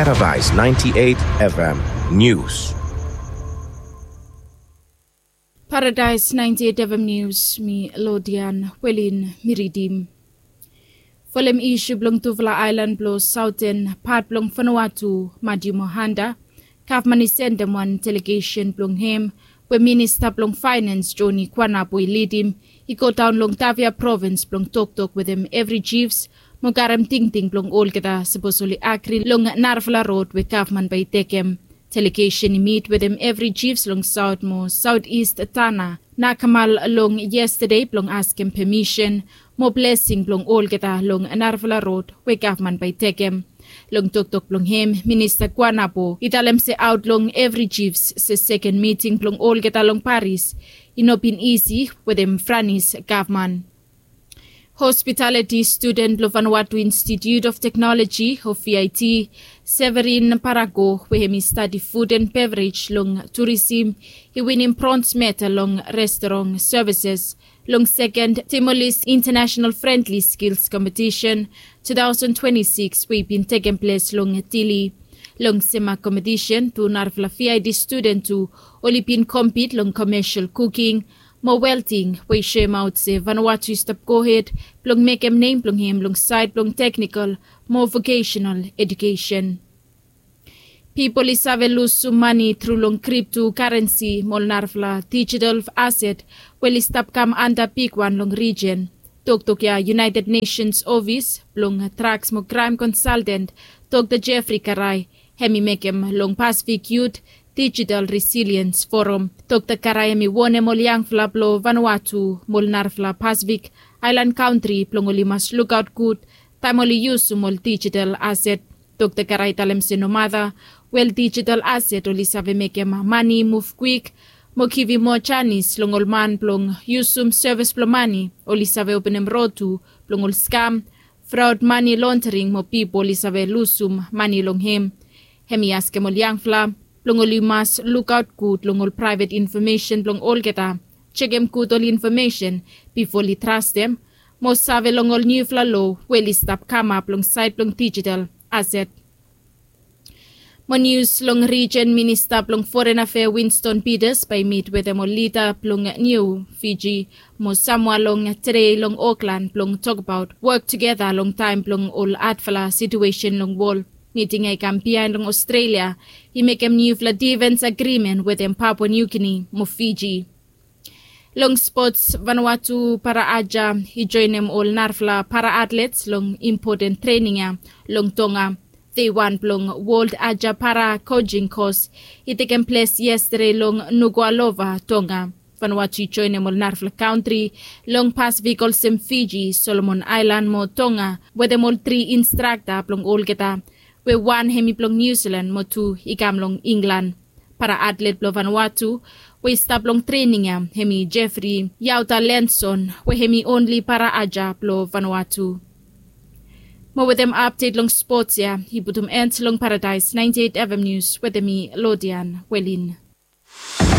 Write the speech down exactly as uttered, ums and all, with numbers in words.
Paradise ninety-eight F M News. Paradise ninety-eight F M News, mi Lodian Welin mi ridim. Folem isu blong tufala aelan blong saoten pat blong Vanuatu, Madiu Mohanda, gavman i sendem wan delegesen blong hem we minista blong faenens Joni Kuanapo i lidim i godaon long Tavia provins blong toktok wetem evri jifs mo karem tingting blong olgeta sapos oli agri long narafala rod we gavman bae i tekem. Delegesen i mit wetem evri jifs long saot mo saot ist Tanna Nakamal long yestade blong askem pemisen mo blesing blong olgeta long narafala rod we gavman bae i tekem. Long toktok blong hem, minista Kuanapo i talem se aot long evri jifs se seken miting blong olgeta long Paris i no bin isi wetem Franis gavman. Hospitaliti studen blong Vanuatu Institute of Technology o V I T, Severin Parago, we hem i stadi food and beverage long turisim, i winim brons medal long restaurant services long seken Timor-Leste International Friendly Skills Competition two thousand twenty-six we i bin tekem ples long Dili. Long sema kompetisen tu narafala V I T studen tu oli bin kompit long komesel kuking mo welting we i soemaot se Vanuatu i stap gohed blong mekem nem blong hem long saed blong teknikol mo vokesenal edukesen. Pipol i save lusum mane tru long kripto karensi mo ol narafala dijital aset we oli stap kam anda bigwan long rijen. Toktok ya United Nations Ofis blong Draks mo Kraem Konsalten, Dokta Jeffrey Karai, hem i mekem long Pasifik Yut Dijital Resiliens Forum. Dokta Karai hem i wonem ol yangfala blong Vanuatu mo ol narafala Pasifik aelan kantri blong oli mas lukaot gud taem oli yusum ol dijital aset. Dokta Karai talem se nomata we ol dijital aset oli save mekem mane i muv kwik mo givim moa janis long ol man blong yusum sevis blong mane, oli save openem rod tu blong ol skam, fraod, mane londering mo pipol i save lusum mane long hem. Hem i askem ol yangfala blong oli mas lukaot gud long ol praevet infomesen blong olgeta, jekem gud ol infomesen bifo oli trastem mo save long ol niufala lo we oli stap kamap long saed blong dijital aset. Mo nius long rijen, minista blong foren afea Winston Peters bae i mit wetem ol lida blong niu Fiji mo Samoa long tede long Oklan blong tokbaot wok tugeta long taem blong ol adfala situesen long wol. Miting ya i kam biaen long Ostrelia i mekem niufala difens agrimen wetem Papua Niugini mo Fiji. Long spots, Vanuatu para aja i joenem ol narafala para atlets long impoten trening ya long Tonga. Dei wan blong Wol Aja Para Kojing Kos i tekem ples yestade long Nuku'alofa, Tonga. Vanuatu i joenem ol narafala kantri long Pasifik olsem Fiji, Solomon Aelan mo Tonga wetem ol tri instrakta blong olgeta, we wan hem i blong Niu Silan mo tu i kam long Inglan. Para atlet blong Vanuatu we i stap long trening ya hem i Jeffrey Yauta Lenson, we hem i onli para aja blong Vanuatu. Mo wetem apdet long spots ya i putum en long Paradise ninety-eight F M News wetem mi, Lodian Welin.